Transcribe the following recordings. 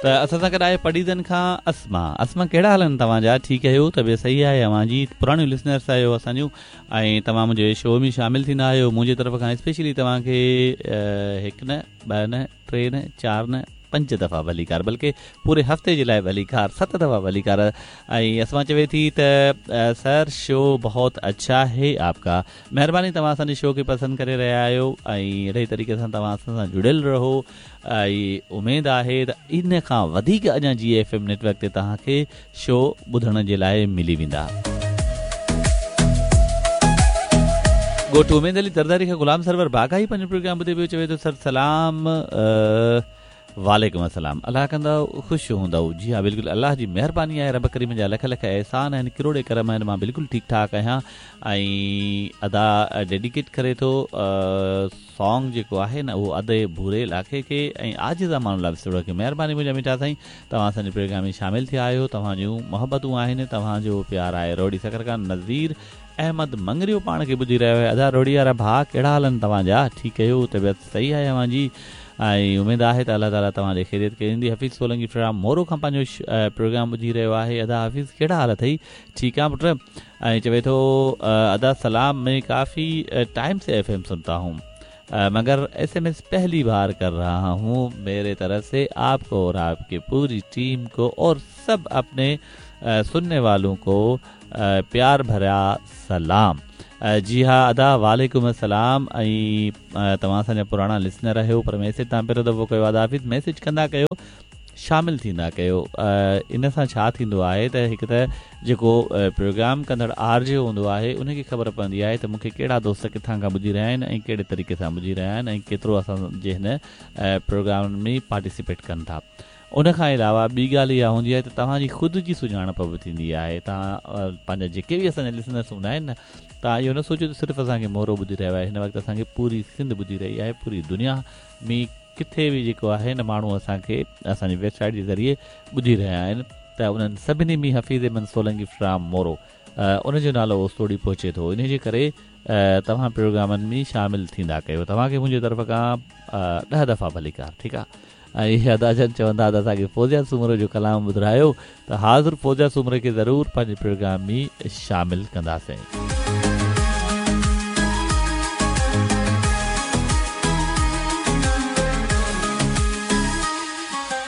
ته اسان سان گڏ آهي پڊعيدن کان اسما. اسما ڪهڙا حال آهن توهان جا ٺيڪ آهيو طبيعت صحيح آهي اوهان جي پراڻيون لسنرس آهيو اسان جون ۽ توهان منهنجي شو ۾ شامل ٿيندا آهيو منهنجي طرف کان اسپيشلي توهان کي هڪ نه ٻه نه ٽي نه چار نه پنج دفعا ڀليڪار بلڪه پوري هفتي جي لاء ڀليڪار ست دفعا ڀليڪار ۽ اسما چوي ٿي ته سر شو بهت اڇا هي آپ ڪا مهرباني توهان اسان جي شو کي پسند ڪري رهيا آهيو ۽ اهڙي ئي طريقي سان توهان اسان سان جڙيل رهو ۽ اميد آهي ته ان کان وڌيڪ اڃا جي ايف ايم نيٽ ورڪ تي توهان کي شو ٻڌڻ جي لاء ملي ويندا. ڳوٺ اميد علي زرداري کان غلام سرور باغائي پنهنجو پروگرام ٻڌي پيو چوي ٿو سر سلام وعليڪم السلام الله ڪندو خوش هوندؤ جي ها بلڪل الله جي مهرباني آهي رب ڪريم جا لک لک احسان آهن ڪروڙين ڪرم آهن مان بلڪل ٺيڪ ٺاڪ آهيان ۽ ادا ڊيڊيڪيٽ ڪري ٿو سانگ جيڪو آهي نه اهو ادي ڀوري لاکي کي ۽ عاجز امان الله وسطڙو کي مهرباني منهنجا مٺا سائين توهان اسان جي پروگرام ۾ شامل ٿيا آهيو توهان جون محبتون آهن توهان جو پيار آهي روهڙي سکر کان نذير احمد مڱريو پاڻ کي ٻڌي رهيو آهي ادا روهڙي وارا ڀاء ڪهڙا حال آهن توهان جا ٺيڪ آهيو طبيعت صحيح آهي اوهان جي ۽ اميد آهي ته الله تعالي توهان جي خيريت ڪندي حفيظ سولنگي فرام مورو کان پنهنجو پروگرام ٻڌي رهيو آهي ادا حفيظ ڪهڙا حال اٿئي ٺيڪ آ پٽ ۽ چوي ٿو ادا سلام مين ڪافي ٽائيم سي ايف ايم سنتا هون مگر ايس ايم ايس پهلي بار ڪر رها هون ميري طرف سي آپ ڪو اور آپ ڪي پوري ٽيم ڪو اور سب اپني سنني والون ڪو پيار ڀريا سلام جي ها ادا وعليڪم السلام ۽ توهان اسان جا پراڻا لسنر آهيو پر ميسيج توهان پهريون دفعو ڪيو ادا حفيظ ميسيج ڪندا ڪيو شامل ٿيندا ڪيو ان سان ڇا ٿيندو آهي ته هڪ ته جيڪو پروگرام ڪندڙ آر جي هوندو آهي ان کي خبر پوندي آهي ته مون کي ڪهڙا دوست ڪٿان کان ٻڌي رهيا آهن ۽ ڪهڙي طريقي سان ٻڌي رهيا آهن ۽ ڪيترو اسان جي هن پروگرام ۾ پارٽيسپيٽ ڪن ٿا ان کان علاوه ٻي ڳالهه اها هوندي آهي ته توهان جي خود جي سڃاڻپ به ٿيندي آهي توهان پنهنجا جيڪي به اسان جا لسنرس هوندا آهن نه توهان اهو نه سوچو ته صرف اسان کي مورو ٻڌي رهيو آهي هن وقت اسان کي پوري سنڌ ٻڌي رهي آهي پوري دنيا ۾ ڪٿي به جيڪو آهي نه ماڻهو اسان کي اسان جي ويب سائيٽ جي ذريعي ٻڌي رهيا آهن ته انهن سڀني ۾ حفيظ احمد سولنگي فرام مورو ان جو نالو اوستوڙي پهچي ٿو انهي جي ڪري توهان پروگرامن ۾ شامل ٿيندا ڪيو توهان کي منهنجي طرف کان ڏهه دفعا ڀليڪار ٺيڪ آ ۽ ادا جن چوندا ته اسان کي فوزيا سومرو جو ڪلام ٻڌرايو ته حاضر فوزيا سومري کي ضرور پنهنجي پروگرام ۾ شامل ڪنداسين.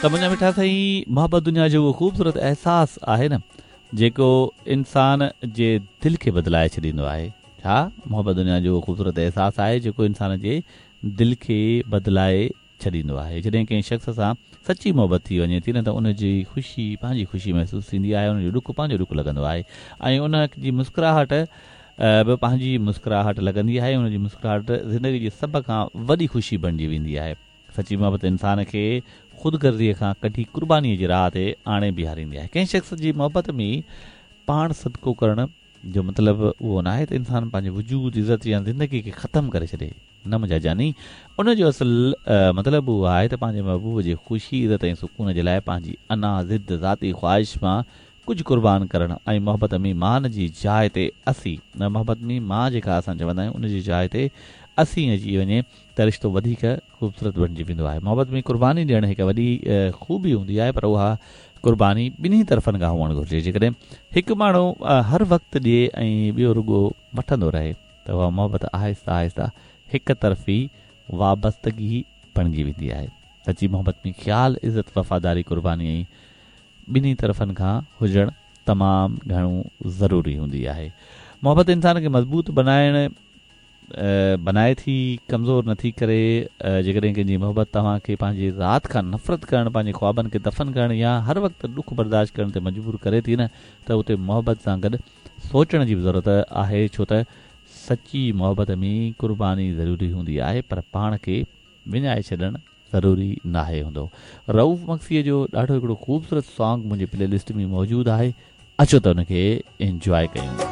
ته منهنجا مٺا سائين محبت دنيا جو اهو خوبصورت احساس آهي نه جيڪو انسان جي دل کي بدلائي ڇڏيندو آهي. ڇا محبت دنيا جو اهو خوبصورت احساس آهي جيڪو انسان جي دل کي بدلائي ڇڏيندو آهي. جڏهن ڪنهن شخص سان سچي محبت ٿي وڃي ٿي نه ته ان جي خوشي پنهنجي خوشي محسوس ٿيندي آهي، ان جو ڏک پنهنجو ڏک لڳندو آهي ۽ ان جي مسڪراهٽ به پنهنجي مسڪراهٽ لڳندي آهي، ان جي مسڪراهٽ زندگي جي سڀ کان وڏي خوشي بڻجي ويندي آهي. سچي محبت انسان کي خود غرضيء کان ڪڍي قربانيء جي راهه تي آڻي بيهاريندي آهي. ڪنهن شخص جي محبت ۾ پاڻ صدقو ڪرڻ جو مطلب اهو ناهي ته انسان پنهنجي وجود، عزت يا زندگي کي ختم ڪري ڇڏي. نه منهنجا جاني، ان جو اصل مطلب اهو آهي ته پنهنجي محبوب جي خوشي، عزت ۽ سڪون جي لاء پنهنجي انا، ضد، ذاتي خواهش مان ڪجهه قربان ڪرڻ ۽ محبت ۾ مان جي جاء تي اسين، محبت ۾ مان جيڪا اسان چوندا آهيون ان جي جاء تي اسين اچي وڃي ته رشتو وڌيڪ خوبصورت بڻجي ويندو آهي. محبت ۾ قرباني ڏيڻ هڪ وڏي خوبي هوندي آهي پر اها قرباني ٻنهي طرفن کان هئڻ گهرجي. جيڪڏهن هڪ ماڻهو هر وقت ڏئي ۽ ٻيو رڳو وٺندو رهي ته اها محبت آهستي آهستي هڪ طرفي وابستگي بڻجي ويندي آهي. سچي محبت ۾ خيال، عزت، وفاداري، قرباني ۽ ٻنهي طرفن کان هجڻ تمام گهڻو ضروري هوندي آهي. محبت انسان کي مضبوط بنائڻ بنائي ٿي، ڪمزور نه ٿي ڪري. جيڪڏهن ڪنهن جي محبت توهان کي پنهنجي ذات کان نفرت ڪرڻ، پنهنجي خوابن کي دفن ڪرڻ يا هر وقت ڏک برداشت ڪرڻ تي مجبور ڪري ٿي نه ته اتي محبت سان گڏ سوچڻ جي به ضرورت آهي ڇو ته سچي محبت ۾ قرباني ضروري هوندي آهي پر پاڻ کي وڃائي ڇڏڻ ضروري ناهي هوندو. رئوف مگسيء جو ڏاڍو هڪڙو خوبصورت سانگ منهنجي پلي لسٽ ۾ موجود آهي اچو ته ان کي انجواء ڪيون.